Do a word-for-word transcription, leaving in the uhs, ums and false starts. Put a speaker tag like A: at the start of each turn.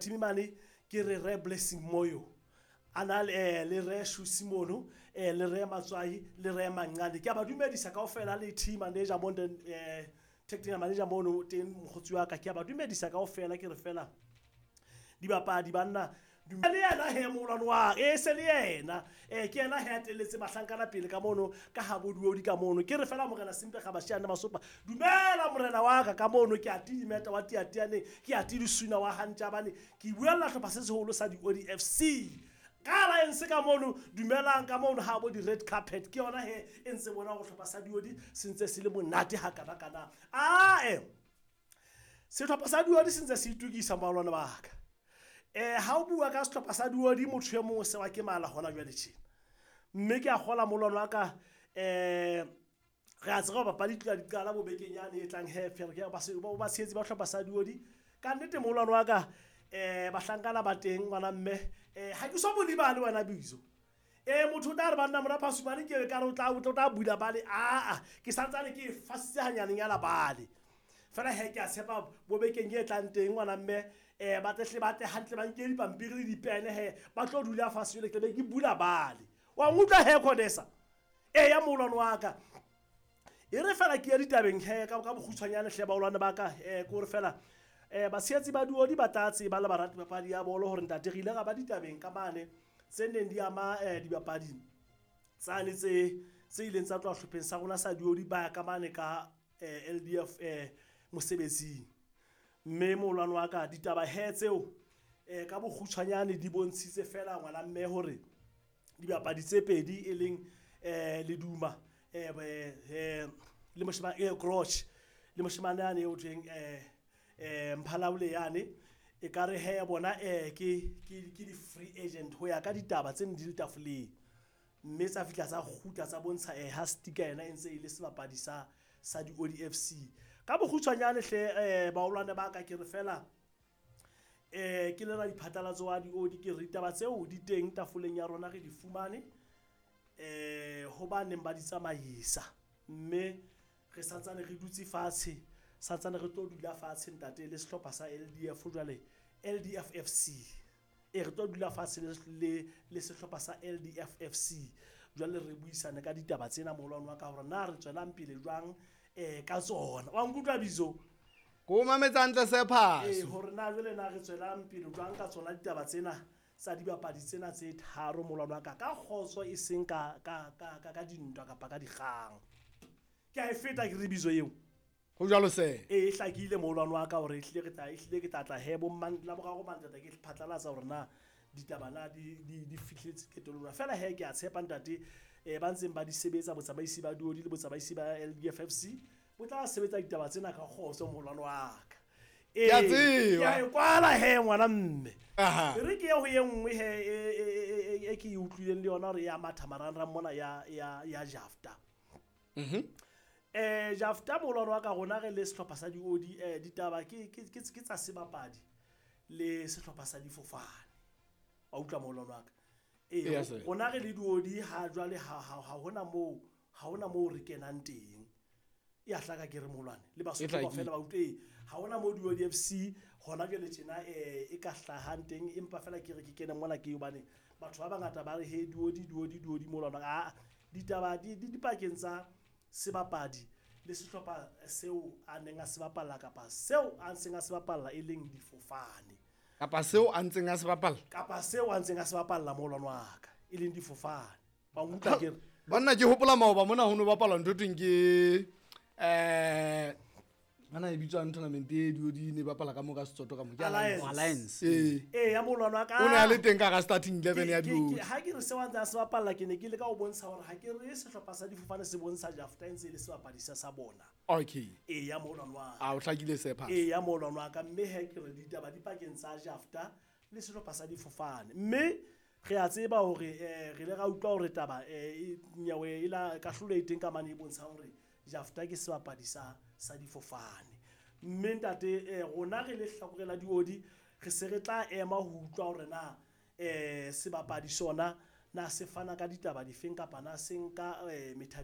A: team mane ke re re Blessing Moyo a na le eh, le re Shusi mono, eh, le re Matswai, le re Manqane. Ke a ba dumedisa kaofela le team manager mo eh, technical manager mono teng mokgotsi wa ka. Ke a ba dumedisa kaofela, ke re fela dibapadi banna le yena he moholwane wa e se le yena um ke yena he a telletse bahlankana pele ka mono ka ga bodiodi ka mono. Ke re fela morena Sempe ga Bashiane Masopa, dumela morena wa ka ka mono. Ke a tidimeta wa tiatianeng, ke a tidisuna wa gantjabane, ke buella hlopha se seholo sa di-O D F C ka alliance ka mono. Dumelang ka mono ha bo di-red carpet, ke yona he e ntse bona go hlopha sa diodi se ntse se le monate ha kana-kana. Ae, sehlopha sa diodi se ntse se itukisa, moholwane wa ka. Eh ha o bua ka sehlopha sa diodi, motho e mongwe se wa ke mala hona jwale tjena, mme ke a kgola moholwane wa ka. um re a tseba papadi tloha di qala bo bekeng yane e tlang he fere ke ba ba tshehetsi ba hlopha sa diodi ka nnete moholwane wa ka. um bahlankana ba teng ngwana mme, um ha ke so mo lebale wena bizo. E motho o tla re banna mora Phasumane ke ka re o tla o tla bula bale, aa ke santsane ke e fasitse hanyanenyana bale fela he. Ke a tshepa bo bekeng e tlang teng ngwana mme, um ba tlehle ba tle hantle, ba nke dipampiri le dipene he, ba tlo dula fatshe jwale ke be ke bula bale wa nkutlwa he Codesa. Ee ya moholwane wa ka, e re fela ke ya ditabeng he ka ka bokgutshwanyane hle baholwane ba ka. um ke gore fela um batshehetsi ba diodi ba tla tseba le barati papadi ya bolo hore ntate re ile ra ba ditabeng ka mane tse neng di ama um dibapadi tsane tse tse ileng tsa tloha hlopheng sa rona sa diodi ba ya ka mane ka um L D F um mosebetsing. Mme moholwane wa ka, ditaba he tseo um ka bokgutshwanyane di bontshitse fela ngwana mme hore dibapadi tse pedi e leng um Leduma um le moshemane Groch le moshemane yane eo thweng um Mphalaole yane, e ka re he bona um ke ke di-free agent ho ya ka ditaba tse neng di le tafoleng, mme tsa fihla tsa kgutla tsa bontsha um ha Sticker yena e ntse e le sebapadi sa sa di-O D F C. Ka bokgutshwanyane hle um baholwane ba ka, ke re fela um ke le ra diphatlalatso wa di-O D, ke re ditaba tseo di teng tafoleng ya rona, re di fumane um ho ba neng ba di tsamaisa, mme re santsane re dutse fatshe, santsane re tlo dula fatshe ntate le sehlopha sa L D F jwale L D F F C. E re tlo dula fatshe le le sehlopha sa L D F F C jwale re buisane ka ditaba tsena moholwane wa ka hore na re tswelang pele jwang um ka tsona. Wa nkutlwa bizo?
B: Ko mametse hantle se
A: Ee,
B: phaso.
A: Hore na jwale na re tswelang pele jwang ka tsona ditaba tsena tsa dibapadi tsena tse tharo moholwane wa ka, ka kgotso e seng ka ka ka ka ka dintwa kapa ka dikgang. Ke a e feta ke re bizo eo.
B: Ho jwalo se.
A: E hlakile moholwane wa ka hore ehlile re tla ehlile ke tla tla he bo mang la boraro mantata ke phatlalatsa hore na ditaba na di di di fihletse qetellong. Fela he ke a tshepa ntate eh ba ntseng ba di sebetsa botsamaisi ba diodi le botsamaisi ba L D F F C bo tla sebetsa ditaba tsena ka kgotso moholwane wa ka.
B: Ke a
A: Ee,
B: tseba.
A: ke a e kwala he ngwana mme.
B: Aha.
A: E re ke ye ho e nngwe he e, e, e, e, e ke e utlwileng le yona hore ya matha marangrang mona ya, ya, ya Jafta.
B: Mhm.
A: Eh, Jafta moholwane wa ka, rona re le sehlopha sa di-O D, eh, ditaba ke, ke, ke, ke tsa sebapadi le sehlopha sa difofane. Wa utlwa moholwane wa ka? Ee,
B: Eya, sir.
A: rona re le di-O D ha jwale ha, ha, ha hona moo, ha hona moo re kenang teng. E a hlaka ke re moholwane le Basotho
B: E hlakile.
A: kaofela ba utlwe. Ee, ha hona moo di-O D F C hona jwale tjena eh e ka hlahang teng, empa fela ke re ke kene mona ke hobane batho ba bangata ba re he di-O D di-O D di-O D moholwane. A ditaba di di dipakeng tsa sebapadi le sehlopha seo a neng a se bapalla kapa seo a ntseng a se bapalla e leng difofane.
B: Kapa seo a ntseng a se bapalla.
A: Kapa seo a ntseng a se bapalla moholwane wa ka e leng difofane. Wa nkutlwa ke re?
B: Banna ke hopola maoba mona ho no bapalwa ntho thweng ke eh ana e bitswang tournament e di ne bapala ka mo ka Setsotho ka mo ke
A: Alliance.
C: Alliance.
B: Ee.
A: Ee, ya moholwane wa ka.
B: O ne a le teng ka hara starting eleven ya
A: Ke- ke-
B: diodi.
A: ke- ha ke re seo a ntse a se bapalla, ke ne ke leka ho bontsha hore ha ke re sehlopha sa difofane se bontsha Jafta e ntse e le sebapadi sa sa bona.
B: Okay.
A: Ee, ya moholwane wa ka.
B: A o hlakile se phaso.
A: Ee, ya moholwane wa ka, mme he ke re ditaba di pakeng tsa Jafta le sehlopha sa difofane. Mme re a tseba hore eh re ile ra utlwa hore taba eh nyewe e la kahlolo e teng ka mane e bontshang hore Jafta ke sebapadi sa sa difofane. Mme ntate eh rona re le hlakore la diodi re se re tla ema ho utlwa hore na eh sebapadi sona na se fana ka ditaba difeng kapa na se nka eh methati